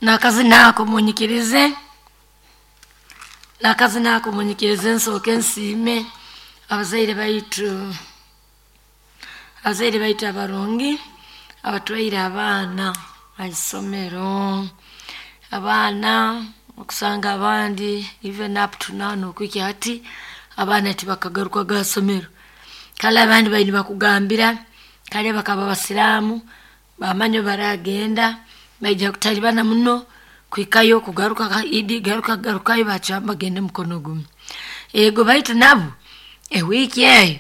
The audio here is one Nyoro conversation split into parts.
Nakazina ako munyikirize, nakazina ako munyikirize nsooke nsiime abazaire baitu, abazaire baitu abarungi abatwaire abaana ha isomero. Abaana okusanga abandi even up to now nokuhikya hati abaana tibakagarukaga ha isomero. Kale abandi bali nibakugambira kare bakaba basiraamu, bamanya obu baragenda baija kutaribana muno kuhikayo kugaruka ha Idi, garuka garukayo bacwamu bagende mukono gumu. Ego baitu nabo ewiiki eyo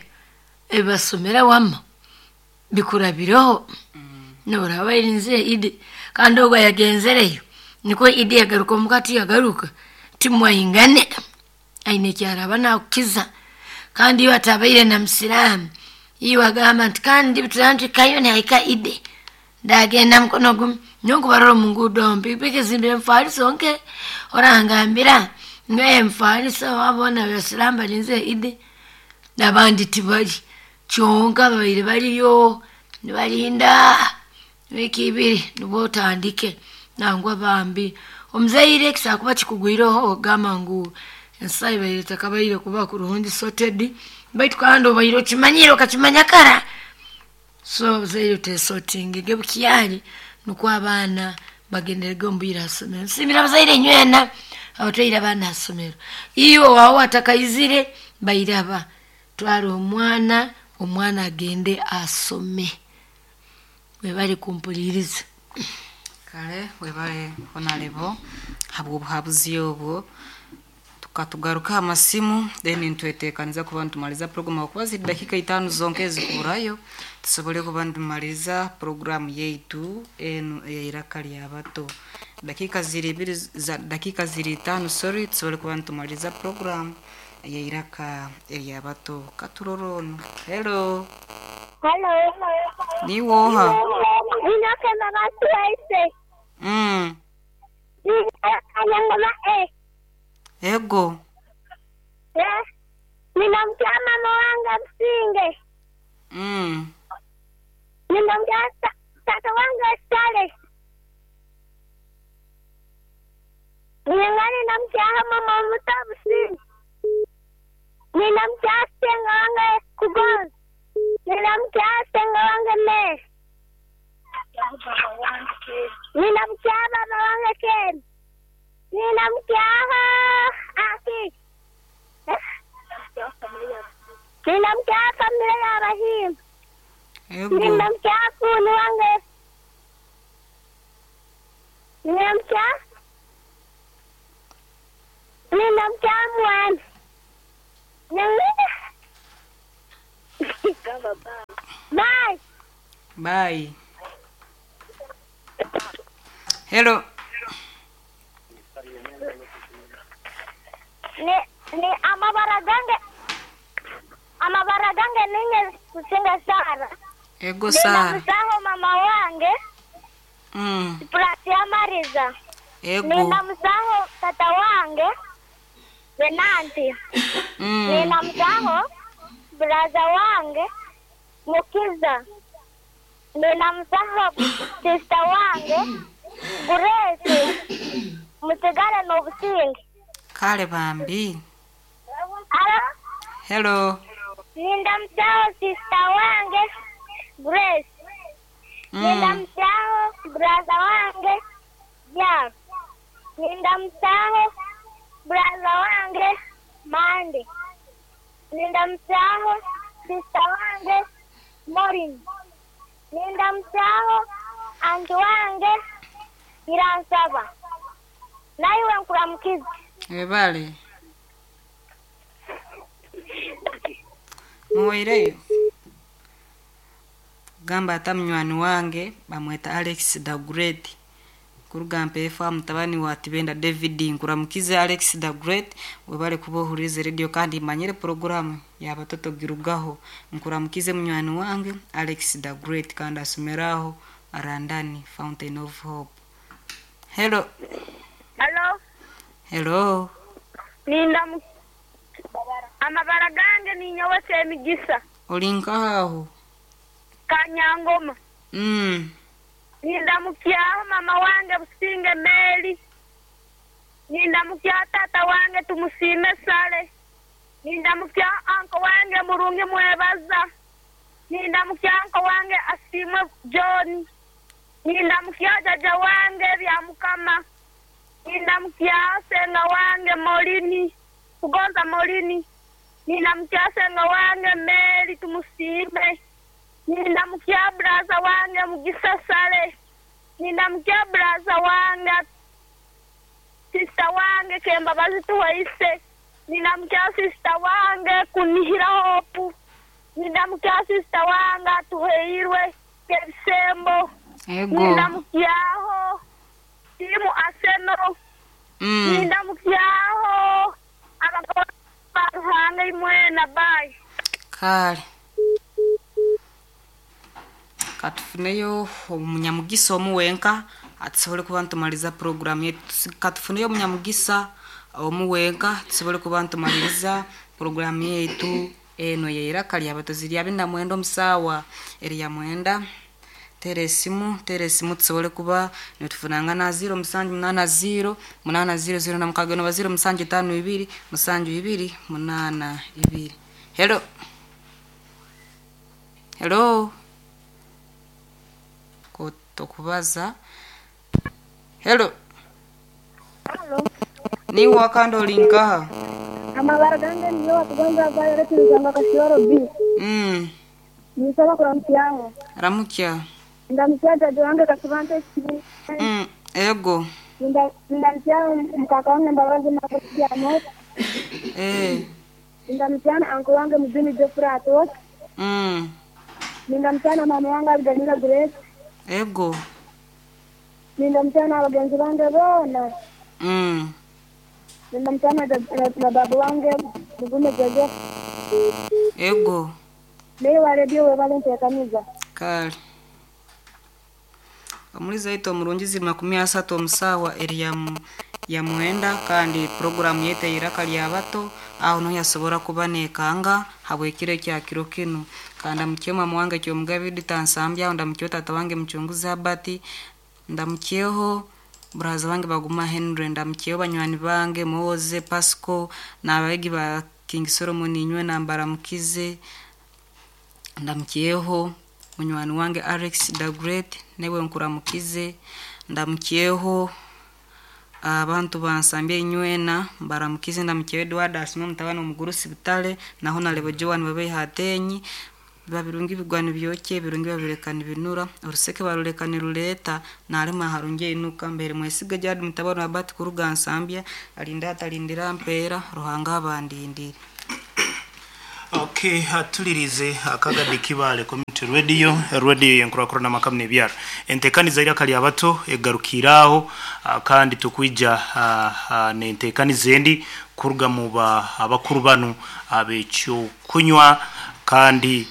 ebibasomere wama bikurabireho, noraba barinzire Idi kandi ogu ayagenzereyo nikwe Idi yagaruka omuka tiyagaruka, timwaingane, aine ekyaraba nakukiza. Kandi iwe atabaire na musiraamu, iwe agamba nti kandi turaba nituhikayo nihahika Idi, ndagenda mukono gumu. Nyowe nkubarora omu nguudo omu pikipiki zimbire emifaliso nke, orangambira ngu emifaliso abo boona abasiraamu balinzire Idi, n'abandi tibali. Kyonka babaire baliyo nibalinda wiiki ibiri nubwo otandike nangwa bambi. Omuzaire kisobora kuba kikugwireho ogamba ngu ensaho ebaire etakabaire kuba kurungi sorted, baitu kandi obaire okimanyire okakimanya kara. So abazaire twesortingege bukyali nukwo abaana bagenderege omu bwire ha isomero. Nsiimire abazaire inywena abatwaire abaana ha isomero. Iwe owaawe atakaizire bairaba, twara omwana, omwana agende asome. Webale kumpuliiriza. Kale webale Honarebo habw'obuhabuzi obwo. Tukatugaruka ha masimu then nitwetekaniza kuba nitumaliza program habwokuba ziri dakiika itaano zonka ezikuburayo tusobole kuba nitumaliza program yaitu enu ey'eiraka ly'abato. Dakiika ziri ibiri za dakiika ziri itaano sorry tusobole kuba nitumaliza program ey'eiraka ery'abato. Katurore onu. Hello. Halo. Niiwe oha? Ninyowe Mbabazi Waise. Kanyangoma A. Ego. Nina mukya mama wange Businge. Nina mukya tata wange Sale. Ninga nina mukyaha mama omuto Businge. Nina mukya senga wange Kugonza. Nina mukya senga wange Mary. Nina mukya baba wange Ken. Nina mukyaha Aki. Nina mukyaha famire y'Abahimba. Ego. Nina mukyaha fuuni wange. Nina mukyaha Nina mukyaha mwana. Nina Bye. Bye. Hello. Ni amabara gange amabara gange ninye kusinga Sara. Ego Nina Sara. musaho mama wange Pulasia Mariza. Ego. Nina musaho tata wange Venanti. Nina musaho braza wange Mukiza. Nina musaho sister wange Grace. Musigale n'obusinge. Kale bambi. Alo? Hello. Ninda musaho sister wange Grace. Ninda musaho braza wange Jack. Ninda musaho braza wange Mande. Ninda musaho sister wange Maureen. Ninda musaho anti wange Nyiransaba. Naiwe nkuramukiza. Webale. Muwaireyo. Gamba ata munywani wange bamweta Alex the Great. Kuruga mpeefa mutabani wa Tibenda David nkuramukize Alex the Great webale kuba ohurize radio kandi manyire programu y'abatoto girugaho nkuramukize munywani wange Alex the Great kandi asomeraho Arandani Fountain of Hope. Hello. Halo? Hello. Ninda mu amabara gange ninyowe Semigisa Oli nkaho? Kanyangoma. Nindamukyaho mama wange Businge Mary. Nindamukyaho tata wange Tumusiime Sale. Nindamukyaho anko wange Murungi Mwebaza. Nindamukyaho anko wange Asiimwe John. Nindamukyaho jaja wange Byamukama. Nindamukyaho senga wange Molini, Kugonza Molini. Nindamukyaho senga wange Mary Tumusiime. Nindamukyaho braza wange Mugisa Sale. Nindamukyaho braza wange sista wange Kembabazi Tuwaise. Nindamukyaho sista wange Kunihira Hope. Nindamukyaho sista wange Atuheirwe Kebisembo. Ego. Nindamukyaho timu Arsenal. Nindamukyaho abagabo ba Ruhanga imwena bayi. Kale. Katufuneyo omunyamugisa omuwenka atusobole kuba ntumaliza program yetu. Katufuneyo omunyamugisa omuwenka tusobole kuba ntumaliriza program yetu eno yeiraka lya batozi lya bina mwenda omusawa erya mwenda. Tera esimu tusobole kuba nitufunangana 0 7 8 0 8 0 0 na mukaga no 0 7 5 2 7 2 8 2. Hello. Hello. Tokubaza. Hello. Hello. Ni wakando linkaha. Amabara gange niyo watugonza Violet nzanga Kashioro B. Nisaba kuramukyaho. Ramukya. Ndamukya jaja wange Kasibante. Ego. Ndamukya mkaka wange Mbabazi Makusiano. Ndamukya anko wange Muzini Jeffrey Atot. Ndamukya na mama wange Abigail Grace. Ego. Ndamukya na bagenzi bange bona. Ndamukya na babu wange Mugume Joseph. Ego. Leo wa radio webale ntekaniza. Kale. Omuliza ito omurungi ziri 30 omusawa eri ya mwenda kandi program yetu eiraka lya bato aho no yasobora kuba nekanga habwekire kya kiro kinu. Kandi mukye mama wange kyomugabi ditansambya ndamukye tata wange muchunguzi Abati, ndamukyeho braza wange Baguma Henry, ndamukyeho banywani bange Moze Pasco n'abegi ba King Solomon inywe nambara mukize, ndamukyeho munywani wange Alex the Great newe nkuramukize, ndamukyeho abantu bansambye inywena mbaramukize, ndamukyeho Edward Asime mutabani omugurusi Butale naho nalebo Joan babe hatenyi babirungi bigwani byoke birungi babirekana binura oruseke barulekana ruleta nalema harungi inuka mbere mwesiga jadi mutabani wa Bati kuruga Nsambya alinda atalindira mpera Ruhanga abandindire. Okay, atulirize akagadi kibale community radio radio yenkurakura n'amakamne byaro entekaniza ira kali abato egarukiraho kandi tukwija nentekaniza endi kuruga mu abakuru banu abekyo kunywa kandi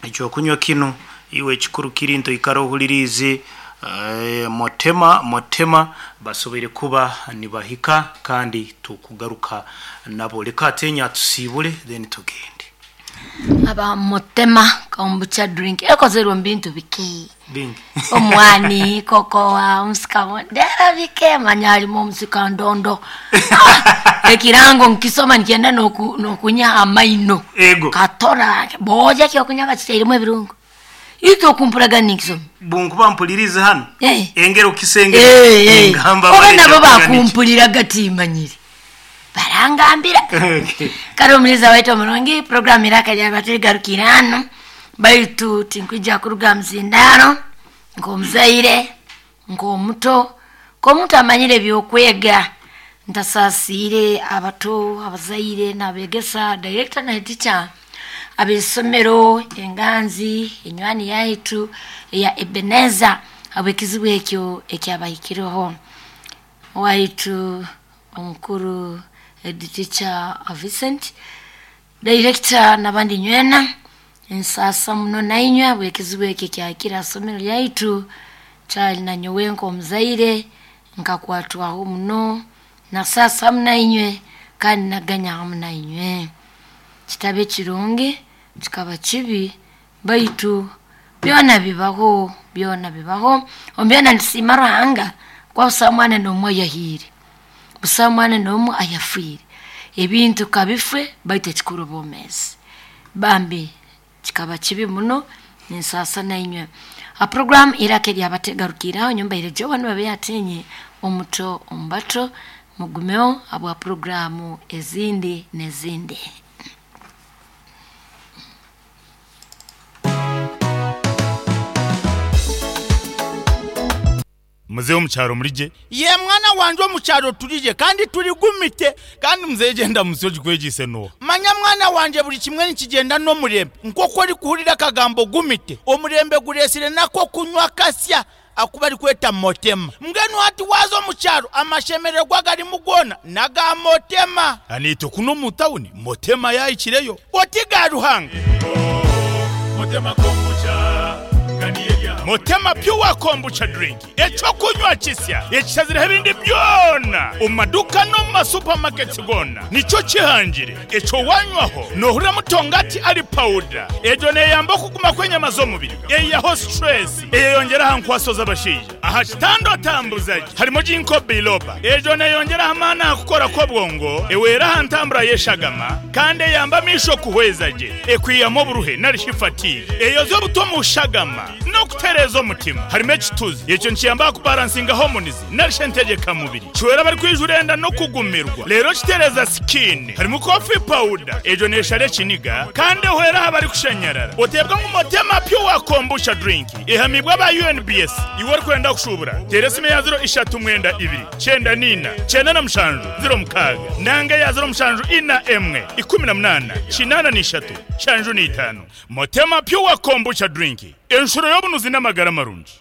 ekyo kunywa kino iwe kikuru kirinto ikaro hulirize motema basobere kuba nibahika kandi tukugaruka nabo leka atenya tusibule then tugende. Aba motema kombucha drink ekozerwa mbintu biki bingi omwani kokoa omusikamo ndera bike manyali mu musika ndondo ekirango nkisoma nikienda nokunya amaino katora boja kyokunya bakiteiremu ebirungo ito kumpuraga nikisoma bunkuba mpulirize hano engero kisenge ngamba oba nabo bakumpuliraga timanyire barangambira. Kare muliza wetu mulungi program iraka lya batirigarukirano baitu tinkwija kuruga mzindaro ng'omuzaire ng'omuto k'omuntu amanyire byokwega ntasasire abato abazaire n'abegesa director na teacher ab'isomero enganzi enywani yaitu ya Ebeneza abwekizibu ekyo ekyabahikireho waitu omukuru teacher Vincent director nabandi nywena ensasa muno nainywe abwekizibu ekyo kyakira somero lyaitu kyali nanyowe nk'omuzaire nkakwatwaho muno na sasa munainywe kandi naganya munainywe kitabe kirungi kikaba kibi baitu Byona bibaho, byona bibaho. Omu byona nitusiima Ruhanga kuba busaho mwana n'omu ayahiire, busaho mwana n'omu ayafiire. Ebintu kabife baitu ekikuru bwomeezi. Bambi kikaba kibi muno, ninsaasa nainywe. Ha program Iraka Ery'abato egarukiire aho, nyowe mbaire Joan Babe omuto omu bato, mugumeho habwa programu ezindi n'ezindi. Muzeeyi omu kyaro murigye? Ye mwana wangye omu kyaro turigye kandi turigumite. Kandi muzeeyi gyenda musyo ogikwegyeise n'oha? Manya mwana wangye buri kimwe nikigyenda n'omurembe. Nk'oku orikuhurira akagambo gumite, omurembe gureetsire n'ak'okunywa kasya aku barikweta Motema. Mbwenu hati waaza omu kyaro amashemererwa agarimu goona n'aga Motema. Naitwe kunu omu tawuni Motema yaahikireyo. Oti ga Ruhanga. Motema Pure Kombucha Drink, eky'okunywa kisya ekishazireho ebindi byona omu maduuka n'omu ma supermarkets goona nikyo kihangire. Ekyo wanywaho noohurira mutongati ari pawuda. Egyo neeyamba okuguma kw'enyama z'omubiri, eihaho stress, eyeyongyera aha nkwaso z'abashaija. Aha kitanda otambuza gye harimu Ginkgo biloba. Egyo neeyongyera aha maani aha kukora kw'obwongo, ehwera aha ntambura y'eshagama kandi eyamba amaisho kuhweza gye, ekwihamu oburuhe nari shi fatigue, eyozya obutwa omu shagama n'okutereeza omutima. Harimu ekituzi, ekyo nikiyamba aha kubaransinga hormones nari shi entegyekamubiri. Kihwera abarikwijura enda n'okugumirwa reero kitereeza sikiini. Harimu coffee powder, egyo neeshara ekiniga kandi ehwera aha barikushanyarara. Oteebwa ngu Motema Pure Kombucha Drink ehamiibwe aba UNBS. Iwe orikwenda kushuubura, teera esimu eya ziro ishatu mwenda ibiri, kyenda n'ina, kyenda na mushanju, ziro mukaaga nanga eya ziro mushanju ina emwe, ikumi na munaana, kinaana n'ishatu, nshanju n'itaano. Motema Pure Kombucha Drink, enshuro y'obunuzi n'amagara marungi.